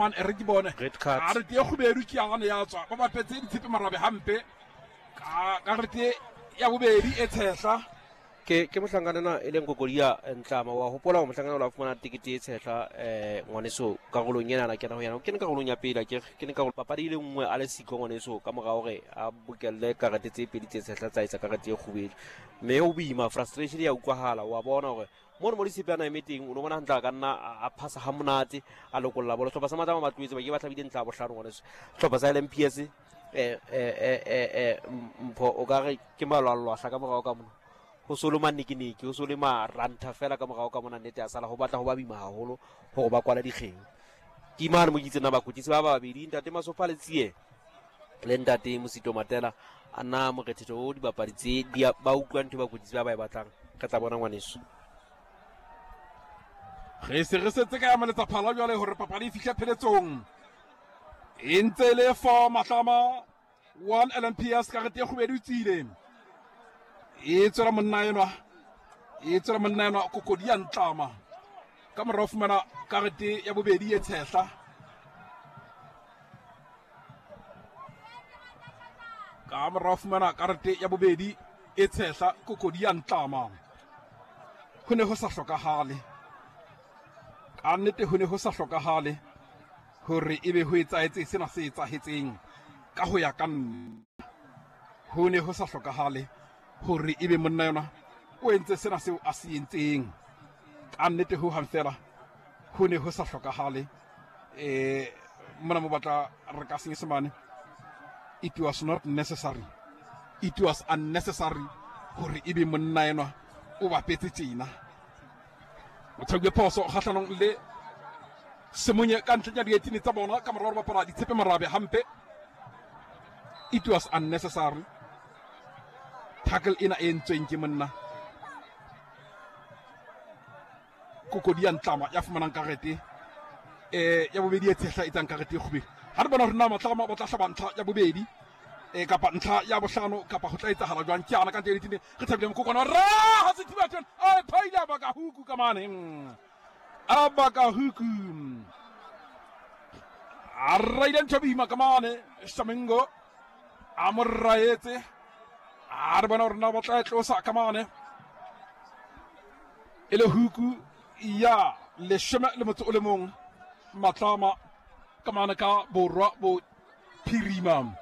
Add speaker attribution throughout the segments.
Speaker 1: Man, e re ke bone
Speaker 2: Red card.
Speaker 1: A re tie kgubedu ke yane ya tswa ba bapetse ditshepe marabe hampe ka karete ya bobedi e tshehla.
Speaker 2: Ke mohlankana ena e leng Kokodia Ntlama. Wa hopola hore mohlankana o la fumana tekete e tshehla, ngwaneso karolong ena na kena ho yena. O kene karolong ya pele, akere ke ne karolo papadi e le nngwe a le siko ngwaneso ka mora hore a bokelle karete tse pedi tse tshehla tsa etsa karete e kgubedu. Mme ho boima, frustration ya utlwahala. Wa bona hore mono mo Ditshepe a na eme teng, o no bona hantle a ka nna a phasa ha monate, a lokolla bolo. Sehlopha sa Matlama ba tlohetse, ba ke ba hlabile ntlha ya bohlano ngwaneso. Sehlopha sa LMPS, Mpho, o ka re ke malwalwahla ka morao ka mona. Ho so le manekeneke, ho so le marantha fela ka morao ka mona, nnete ya sala ho batla ho ba boima haholo hore ba kwale dikgeo. Ke mane mo ke itseng na bakwetlisi ba babedi, ntate Masopha le Tsie le ntate Mosito Matela, a na morethetho o dibapadi tse di a, ba utlwa ntho bakwetlisi ba ba e batlang. Re tla bona ngwaneso.
Speaker 1: Re se re setse ka ya maletsa phala jwale hore papadi e fihle pheletsong. E ntse e le 4 Matlama 1 LMPS, karete e kgubedu e tswile. E tswela monna enwa, e tswela monna enwa Kokodi ya Ntlama ka morao fumana karete ya bobedi e tshehla. Ka morao fumana karete ya bobedi e tshehla Kokodi ya Ntlama. Ho ne ho sa hlokahale, ka nnete ho ne ho sa hlokahale hore ebe ho etsahetse sena se etsahetseng. Ka ho ya ka nna, ho ne ho sa hlokahale hore ebe monna yona o entse sena seo a se entseng. Ka nnete ho hang fela ho ne ho sa hlokahale. Mona mo batla re ka Senyesemane, it was not necessary, it was unnecessary hore ebe monna enwa o bapetse tjena. O tshauwe phoso kgahlanong le Semonye ka ntle ya dietini tsa bona ka morao bapala ditshepe marabe hampe. It was unnecessary tackle ena e entsweng ke monna Kokodi ya Ntlama ya fumanang karete ya bobedi e tshehla e tsang karete e kgubedu. Ha re bona hore na Matlama ba tla hlaba ntlha ya bobedi kapa ntlha ya bohlano kapa ho tla etsahala jwang. Ke ana ka ntle le re thabile mokokwana ra ha se thiba tjena a phaile ba ka huku ka mane a ba ka huku a raile ntho boima ka mane Shamengo a mo raetse. A re bona hore na ba tla e tlosa ka mane e le huku ya 11 Matlama ka mane ka borwa bo phirima.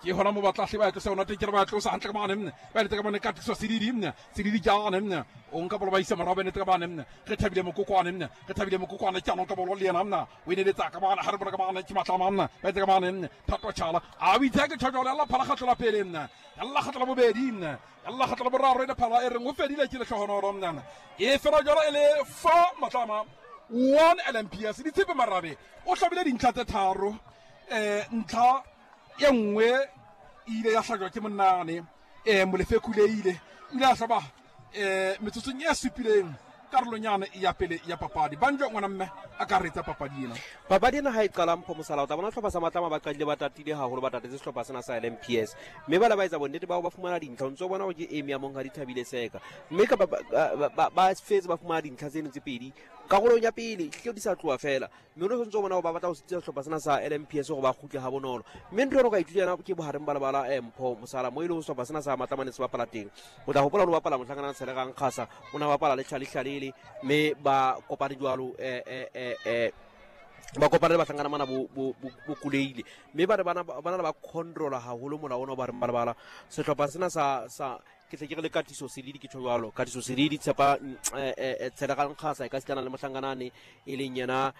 Speaker 1: Ke hona mo batla hle ba tlosa yona teng, ke re ba tlosa hantle ka mane, ba eletse ka mane ka tliso Sedidi, Sedidi jane o nka bolo ba isa morao, ba enetse ka mane re thabile mokokwane, re thabile mokokwane ke ano nka bolo le yena o eneletsa ka mane ha re bona ka mane ke Matlama ba etse ka mane Thato Chala a o itse ke tjhojolo ya la phala kgatlo la pele ya la kgatlo la bobedi ya la kgatlo la boraro e le phala e reng o fedile ke lehlohonolo e fela jalo e le 4 Matlama 1 LMPS. Ditshepe Marabe o hlabile dintlha tse tharo, ntlha e nngwe e ile ya hlajwa ke monnane Molefe Kuleile, o ile a hlaba metsotsong e supileng karolong yane ya pele ya papadi. Banjo ngwana mme a ka retsa papadi ena.
Speaker 2: Papadi ena ha e qala Mpho Mosala, o tla bona sehlopha sa Matlama ba qadile ba tatile haholo, ba tatetse sehlopha sena sa LMPS, mme ba le ba etsa bonnete ba ho ba fumana dintlha. O ntso bona hore ke eme ya monghadi Thabile Seka, mme ka ba fetse ba fumana dintlha tseno tse pedi karolong ya pele, hlile di sa tloha fela. Mme o ntso bona hore ba batla ho sitisa sehlopha sena sa LMPS hore ba kgutle ha bonolo. Mme ntho eno ka ithuta yona ke bohareng ba lebala, Mpho Mosala, mo e leng sehlopha sena sa Matlama ne se bapala teng. O tla hopola o bapala mohlankana Tshelegang Kgasa, o ne a bapala le Charlie Hlalele, mme ba kopane jwalo, ba kopane le bahlankana mana bo Kuleile, mme ba ne ba na le ba controla haholo mola ona o ba reng ba lebala. Sehlopha sena sa ke tle ke re le Katiso Selidi, ke tjho jwalo, Katiso Selidi tshepa, Tshelegang Kgasa e ka sitana le mohlankanane e leng yena,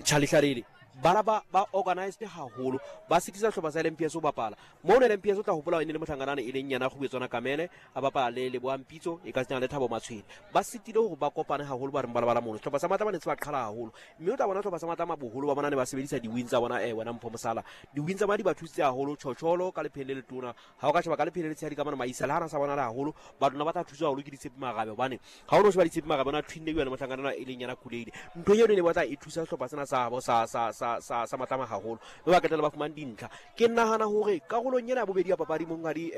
Speaker 2: Charlie Hlalele. Bana ba organized haholo, ba sitisa sehlopha sa LMPS ho bapala. Mono LMPS o tla hopola e ne le mohlankanane e leng yena Kgubetswana Kamele a bapala le Lebohang Pitso e ka sitana le Thabo Matshwele. Ba sitile hore ba kopane haholo ba reng ba lebala mono. Sehlopha sa Matlama ne se ba qhala haholo, mme o tla bona sehlopha sa Matlama boholo ba bona ne ba sebedisa di-wing tsa bona, wena Mpho Mosala. Di-wing tsa bona di ba thusitse haholo. Tjhotjholo ka lepheng le letona, ha o ka sheba ka lepheng le letshehadi ka mona Maisa le ha na sa bona le haholo, batho ba tla thuswa haholo ke Ditshepe Marabe, hobane ha o no sheba Ditshepe Marabe ona twinne yona mohlankana e leng yena Kuleile. Ntho eno e ne batla e thusa sehlopha sena sa habo sa Matlama haholo, mme ba qetella ba fumane dintlha. Ke nahana hore karolong ena ya bobedi ya papadi monghadi,